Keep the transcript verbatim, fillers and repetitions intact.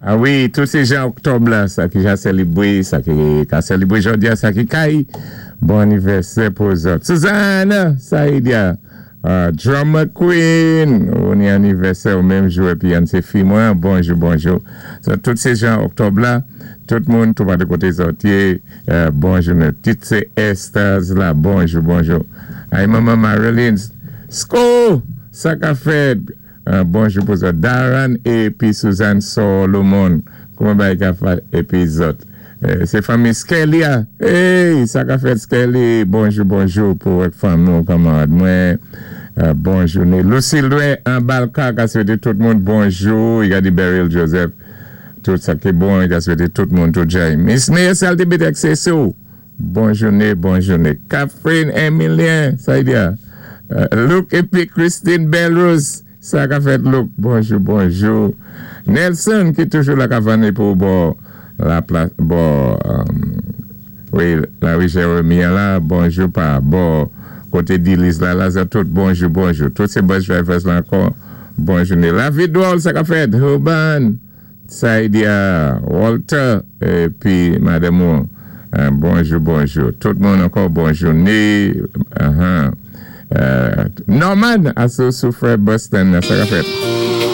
Ah wi, tout sé jan òktòb la, sa ki ja sélibwé, sa ki ka sélibwé jòdi-a, sa ki kay, bon anivèsè pou zòt. Suzanne, Saïdia, uh, Drummer Queen, ou ni anivèsè ou menm jou, épi yon sé fi mwen, bonjou, bonjou. So, tout sé jan òktòb la, tout moun, tout pa de koté zòt yé, euh, bonjou, tout sé Esther's la, bonjou, bonjou. Ay, manman Marilyn, Sko, sa ka fèt, euh, bonjou pou zòt. Darren épi Suzanne Solomon, kouman bay ka fèt épi zòt. Euh, sé fanmi Skelly, ah. Hey, sa ka fèt Skelly, bonjou, bonjou pou fanmi nou, kanmarad mwen. Euh, bonjou. Lucille Louis, an Balka, ka swété tout moun bonjou. I ka di Beryl Joseph, tout sa ki bon, i ka swété tout moun, tout jay. Miss Mayor Salty Bitek, sé sou. Bon jouné, bon jouné. Catherine Emilien, sa y di a. Euh, Luke épi Christine Belrose, sa ka fèt Luke. Bonjou, bonjou. Nelson ki toujou la kavanné pou bò la plas, bò, um, wi, la wi Jérémie la, bonjou pa bò koté Dilis la, la, sa tout, bonjou, bonjou. Tout sé bus drivers la ankò, bonjou. La vie drôle, sa ka fèt. Urban, Saïdia, Walter, épi madanm ou, euh, bonjou, bonjou. Tout moun ankò, bonjou. Né, uh-huh. Euh, Norman, asou Soufrière Boston, sa ka fèt.